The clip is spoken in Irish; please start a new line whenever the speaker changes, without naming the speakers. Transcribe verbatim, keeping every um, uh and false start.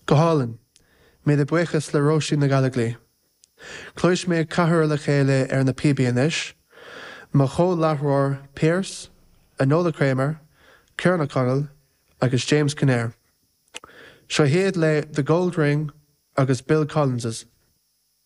Go hálainn, míle buíochas le Róisín Ní Ghallchobhair. Cloisfidh mé ceathrar le chéile ar na píobaí anois, mo chomhláithreoir Pearse, Enola Kramer, Ciarán O'Connell agus James Kinnair. Seo hiad le The Gold Ring agus Bill Collins's